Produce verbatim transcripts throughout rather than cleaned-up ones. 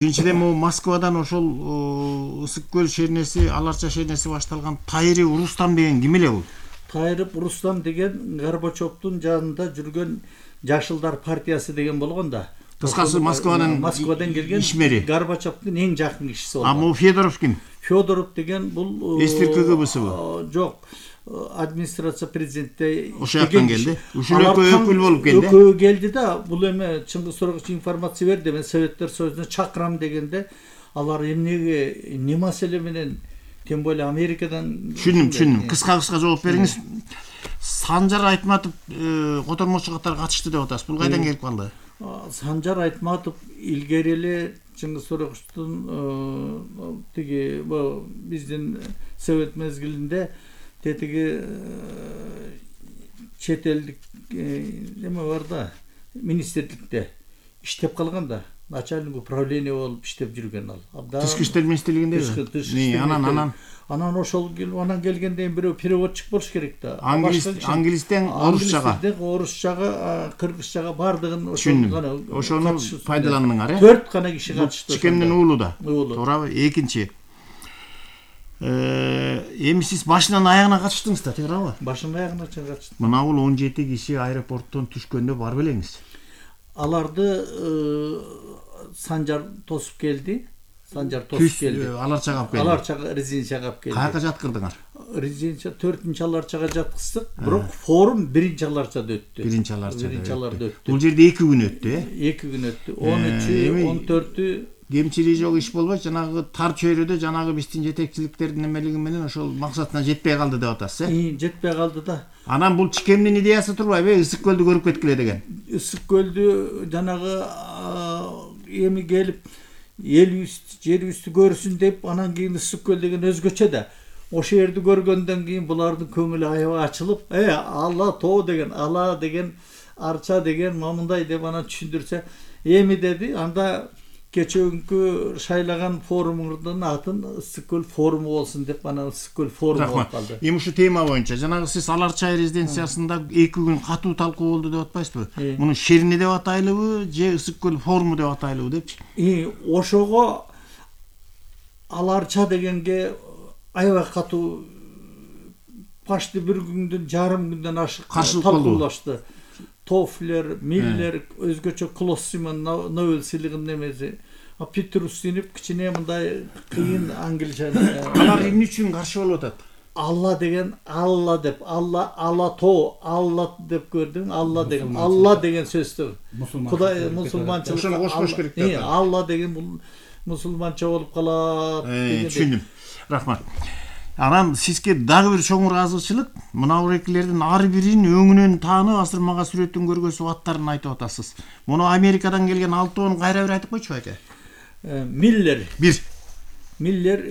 Биринчиден могу Москвадан ошол Ысык көл шернеси, Аларча шернеси башталган Тайыров Рустам деген ким эле бул? Тайыров Рустам деген Горбачевдун жанында жүргөн Жашылдар партиясы деген болгон да. Кыскасы Москвадан Москвадан келген ишмери. Горбачевдун эң жакын кишиси болгон. А могу Федоров ким? Федоров деген бул Эстир КГБсыбы? Жок. Администрация президентте ошол жактан келди. Ушул экөө өкүл болуп келди. Экөө келди да, бул эме Чыңгыз Сорогуч информация берди. Мен Советтер Союзуна чакырам дегенде, алар эмнеге, эмне маселе менен, тем более Америкадан. Түшүндүм, түшүндүм. Кыска-кыска жооп бериңиз. Санжар Айтматов котормочу катары катышты деп атасыз. Бул кайдан келип калды? Санжар Айтматов илгери эле Чыңгыз Сорогучтун тиги биздин Совет мезгилинде тетиги чет элдик эме бар да, министрликте иштеп калган да, начальник управление болуп иштеп жүргөн ал. Тышкы иштер министрлигиндеби? Анан анан анан ошол анан келгенден бирөө переводчик болуш керек да. Англистен орусчага, орусчага, кыргызчага бардыгын ошону ошону пайдаландыңар, э? төрт гана киши катышты. Чикемдин уулу да. Туурабы? Экинчи. Эми сиз башынан аягына катыштыңыз да, туурабы? Башынан аягына чейин катыштым. Мына бул он жети киши аэропорттон түшкөндө бар белеңиз. Аларды Санжар тосуп келди. Санжар тосуп келди. Аларчага алып келди. Аларчага резиденцияга алып келди. Каяка жаткырдыңар? Резиденция төртүнчү Аларчага жаткыздык, бирок форум биринчи Аларчада өттү. Биринчи Аларчада. Биринчи Аларда өттү. Бул жерде эки күн өттү, э? эки күн өттү. он үчү, он төртү кемчилиги жок иш болбой, жанагы тар чөйрөдө жанагы биздин жетекчиликтердин эмелиги менен ошол максатына жетпей калды деп атасыз, э? Жетпей калды да. Анан бул Чикемдин идеясы турбайбы, Ысык көлдү көрүп кеткиле деген. Ысык көлдү жанагы эми келип элибизди, жерибизди көрсүн деп, анан кийин Ысык көл деген өзгөчө да. Ошол жерди көргөндөн кийин булардын көңүлү аябай ачылып, э, Алла тоо деген, Ала деген, Арча деген, мамындай деп анан түшүндүрсө, эми деди, анда кечөөкү шайлаган форумуңдун атын Ысык көл форуму болсун деп, анан Ысык көл форуму болуп калды. Эми ушу тема боюнча жанагы сиз Аларча резиденциясында эки күн катуу талкуу болду деп атпайсызбы? Муну шерни деп атайлыбы, же Ысык көл форуму деп атайлыбы депчи? И ошого Аларча дегенге аябай катуу почти бир күндөн, жарым күндөн ашык талкуулашты. Тофлер, Миллер, өзгөчө Клоссиман Нобель сыйлыгынын эмеси. А Питер Устинов кичине мындай кыйын англича. Алар эмне үчүн каршы болуп атат? Алла деген, Алла деп, Алла, Алла то, Алла деп көрдүң, Алла деген, Алла деген сөздү. Кудай мусулманчылык. Ошону кошпош керек деп. Алла деген бул мусулманча болуп калат. Түшүндүм. Рахмат. Анан сизге дагы бир чоң ыраазычылык, мына бурекилердин ар бирин өңүнөн таанып, асырмага сүрөтүн көргөзүп аттарын айтып атасыз. Муну Америкадан келген алтоонун кайра бир айтып койчу байке. Миллер. Бир. Миллер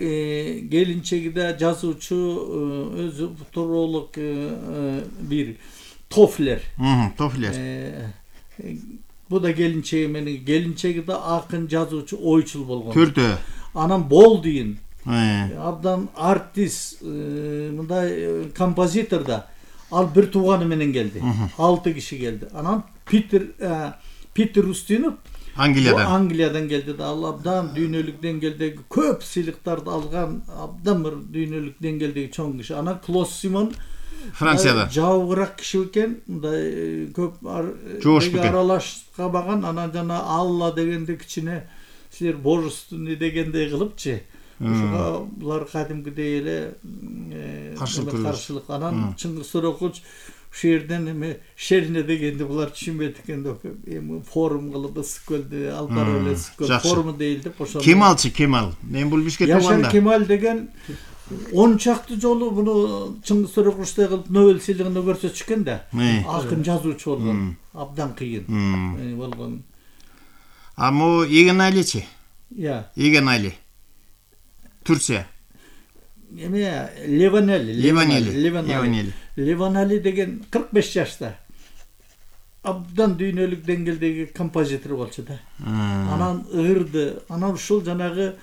келинчеги да жазуучу, өзү футуролог бир. Тофлер. Тофлер. Бу да келинчеги менен, келинчеги да акын, жазуучу, ойчул болгон. Төртөө. Анан Болдуин. Абдан артист, мындай композитор да. Ал бир тууганы менен келди. алты киши келди. Анан Питер Питер Устинов Англиядан. Англиядан келди да. Ал абдан дүйнөлүк деңгээлдеги көп сыйлыктарды алган, абдан бир дүйнөлүк деңгээлдеги чоң киши. Анан Клоссиман Францияда. Жабыраак киши экен, мындай көп аралашкабаган. Анан жана Алла дегенде кичине силер божественный дегендей кылыпчы. Ошого булар кадимкидей эле каршылык. Анан Чыңгыз Сорогуч ушул жерден эме шерне дегенди булар түшүнбөйт экен деп, эми форум кылып Ысык көлдү алып барып эле Ысык көл форуму дейли деп ошону. Кемалчы, Кемал. Мен бул бишке тууганда. Яшар Кемал деген он чакты жолу муну Чыңгыз Сорогучтай кылып Нобель сыйлыгына көрсөтүшкөн да. Акын жазуучу болгон, абдан кыйын болгон. А мо Игенайличи? Я. Игенайли. Турция. Эме Леванели, Леванели, Леванели. Леванели деген кырк беш жашта. Абдан дүйнөлүк деңгээлдеги композитор болчу да. Анан ырды, анан ушул жанагы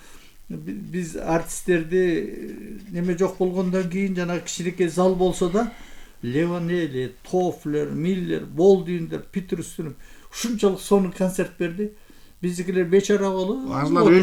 биз артисттерди неме жок болгондон кийин жанагы кичинекей зал болсо да, Леванели, Тофлер, Миллер, Болдуиндер, Питер Устинов ушунчалык сонун концерт берди. Биздикилер бечара болуп Алар